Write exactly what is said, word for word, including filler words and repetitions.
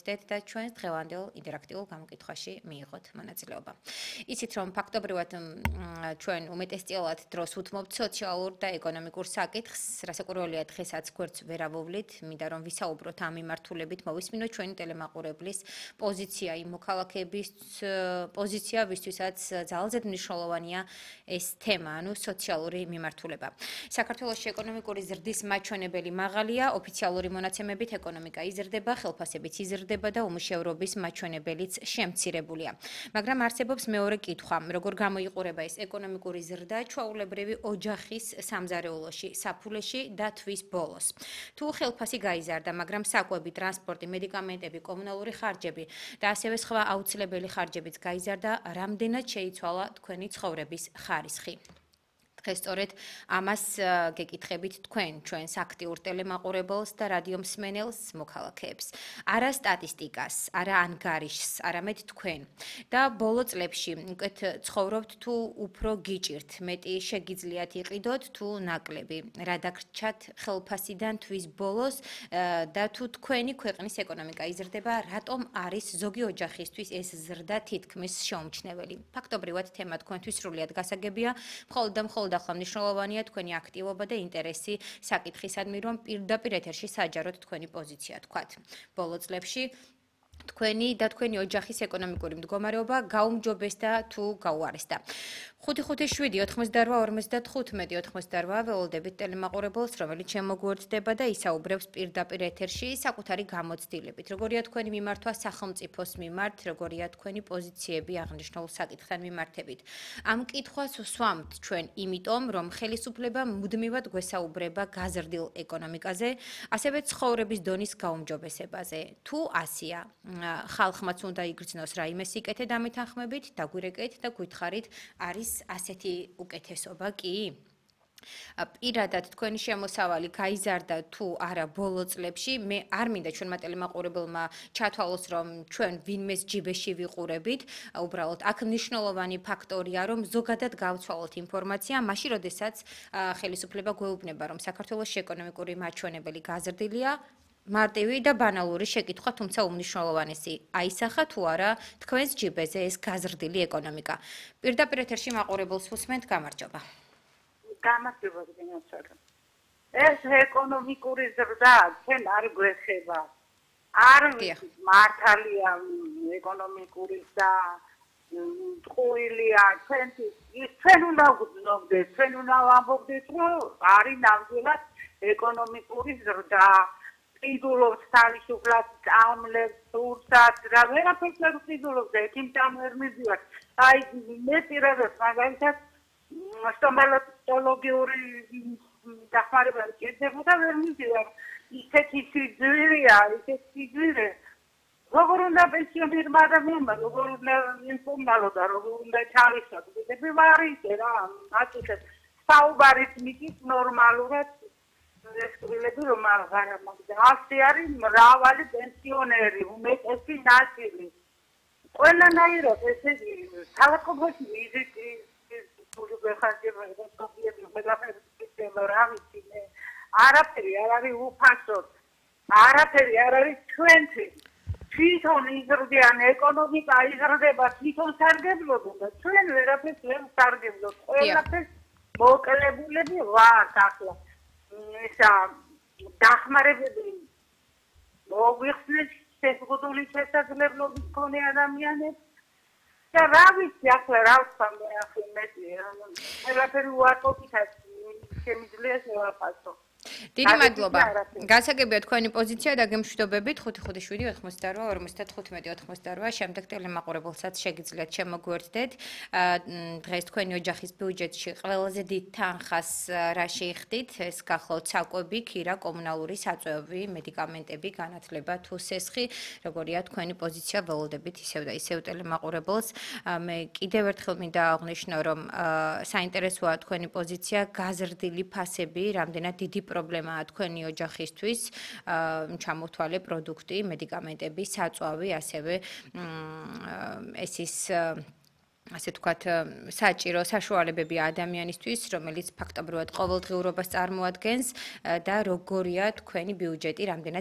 მოგეჩნდეთ და ჩვენს დღევანდელ ინტერაქტიულ გამოკითხვაში მიიღოთ მონაწილეობა. იცით რომ ფაქტობრივად ჩვენ უმეტესწილად დროს უთმობთ სოციალურ და ეკონომიკურ საკითხს, რასაკვირველია დღესაც გვერდს ვერ ავუვლით, მინდა რომ ვისაუბროთ ამ მიმართულებით, მოვისმინოთ ჩვენი ტელემაყურებლის პოზიცია იმ მოქალაქეების პოზიცია, ვისთვისაც ძალზედ მნიშვნელოვანია ეს თემა, ანუ სოციალური მიმართულება. საქართველოში ეკონომიკური ზრდის მაჩვენებელი მაღალია, ოფიციალური მონაცემებით ეკონომიკა იზრდება, ხელფასებიც იზრდება და უმუშევრობის მაჩვენებელიც შემცირებულია. მაგრამ არსებობს მეორე კითხვა, როგორ გამოიყურება ეს ეკონომიკური ზრდა ჩვეულებრივი ოჯახის სამზარეულოში, საფულეში და თვის ბოლოს. თუ ხელფასი გაიზარდა, მაგრამ საკვები, ტრანსპორტი, მედიკამენტები, კომუნალური ხარჯები და ასევე სხვა აუცილებელი ხარჯებიც გაიზარდა, რამდენად შეიცვალა თქვენი ცხოვრების ხარისხი? დღეს სწორედ ამას გეკითხებით თქვენ, ჩვენს აქტიურ ტელემაყურებელს და რადიო მსმენელს, მოქალაქეებს. არა სტატისტიკას, არა ანგარიშს, არამედ თქვენ. და ბოლო წლებში უკეთ ცხოვრობთ თუ უფრო გიჭირთ, მეტი შეგიძლიათ იყიდოთ თუ ნაკლები. რა დაგრჩათ ხელფასიდან თვის ბოლოს და თუ თქვენი ქვეყნის ეკონომიკა იზრდება, რატომ არის ზოგი ოჯახისთვის ეს ზრდა თითქმის შეუმჩნეველი? ფაქტობრივად თემა თქვენთვის სრულიად გასაგებია, მხოლოდ და მხოლოდ ახლა მნიშვნელოვანია თქვენი აქტივობა და ინტერესი საკითხისადმი, რომ პირდაპირ ეთერში საჯაროდ თქვენი პოზიცია თქვათ. ბოლო წლებში თქვენი და თქვენი ოჯახის ეკონომიკური მდგომარეობა გაუმჯობესდა თუ გაუარესდა. ხუთი ხუთი შვიდი ოთხმოცდაორვა ორმოცდათხუთმეტი ოცდაორვა ველოდებით ტელემაყურებელს, რომელიც შემოგვერთდება და ისაუბრებს პირდაპირ ეთერში საკუთარი გამოცდილებით. როგორია თქვენი მიმართვა სახელმწიფოს მიმართ, როგორია თქვენი პოზიციები აღნიშნულ საკითხთან მიმართებით. ამ კითხვას ვსვამთ ჩვენ იმიტომ, რომ ხელისუფლება მუდმივად გვესაუბრება გაზრდილ ეკონომიკაზე, ასევე ცხოვრების დონის გაუმჯობესებაზე. თუ ასია, ხალხმაც უნდა იგრძნოს რაიმე სიკეთე დამეთანხმებით, დაგვირეკეთ და გითხარით, არის ასეთი უკეთესობა კი? პირადად თქვენი შემოსავალი გაიზარდა თუ არა ბოლო წლებში, მე არ მინდა ჩვენმა ტელემაყურებელმა ჩათვალოს, რომ ჩვენ ვინმეს ჯიბეში ვიყურებით, უბრალოდ აქ მნიშვნელოვანი ფაქტორია, რომ ზოგადად გავცვალოთ ინფორმაცია, მაშინ როდესაც ხელისუფლება გვეუბნება, რომ საქართველოში ეკონომიკური მაჩვენებელი გაზრდილია, მარტივი და ბანალური შეკითხვა, თუმცა უმნიშვნელოვანესი, აისახა თუ არა თქვენს ჯიბეზე ეს გაზრდილი ეკონომიკა. პირდაპირ ეთერში მაყურებელს უსმენთ, გამარჯობა. გამარჯობა გენაცვალე. ეს ეკონომიკური ზრდა ჩვენ არ გვეხება. არ მართალია ეკონომიკური და ტყუილია ჩვენთვის. ჩვენ უნდა ვგრძნობდეთ, ჩვენ უნდა ვამბობდეთ, რომ არის ნამდვილად ეკონომიკური ზრდა. ყიდულობს თავისუფლად წამლებს, სურსათს, რა ვერაფერს არ ყიდულობს და ექიმთან ვერ მივდივარ. აი მე პირადად მაგალითად სტომატოლოგიური დახმარება გეძებო და ვერ მივდივარ. ისეთი სიძვირეა, ისეთი სიძვირე. როგორ უნდა პენსიონერმა ადამიანმა, როგორ უნდა ინფორმალო და როგორ უნდა ჩავისვათ. მე ვარ ისე რა, აკეთებ საუბარით მიწით ნორმალურად ეს კვილები რომ აღარ მაგდა ასე არის მრავალი პენსიონერი უმეტესი ნაწილი ყველანაირად ესე ქალაქობაში ვიზიტი გეხარჯება და ყველაფერი რა ვიცი მე არაფერი არ არის უფასო არაფერი არ არის ჩვენთვის თვითონ იზრდიან ეკონომიკა იზრდება თვითონ სარგებლობენ და ჩვენ ვერაფერს ვერ ვსარგებლობთ ყველაფერს მოკლებულები ვართ ახლა ისა დახმარებები მოგვიხსნეს შეზღუდული შესაძლებლობის მქონე ადამიანებს და რა ვიცი ახლა რა ვთქვა მე ახლა მეტი ყველაფერი უარყოფითად შემიძლია შევაფასო დიდი მადლობა. გასაგებია თქვენი პოზიცია და გემშვიდობებით ხუთი ხუთი შვიდი ოცდაორვა ორმოცდათხუთმეტი ოცდაორვა შემდეგ ტელემაყურებელსაც შეგიძლიათ შემოგვერთდეთ. დღეს თქვენი ოჯახის ბიუჯეტში ყველაზე დიდ თანხას რა შეიხდით? ეს გახლავთ საკვები, ქირა, კომუნალური საწვევი, მედიკამენტები, განათლება თუ სესხი. როგორია თქვენი პოზიცია ველოდებით ისევ და ისევ ტელემაყურებელს. მე კიდევ ერთხელ მინდა აღვნიშნო, რომ საინტერესოა თქვენი პოზიცია, გაზრდილი ფასები, რამდენად დიდი პრობლემაა თქვენი ოჯახისთვის, ჩამოთვალე პროდუქტი, მედიკამენტები, საწვავი, ასევე ეს ის ასე ვთქვათ, საჭირო საშუალებები ადამიანისთვის, რომელიც ფაქტობრივად ყოველდღიურობას წარმოადგენს და როგორია თქვენი ბიუჯეტი, რამდენად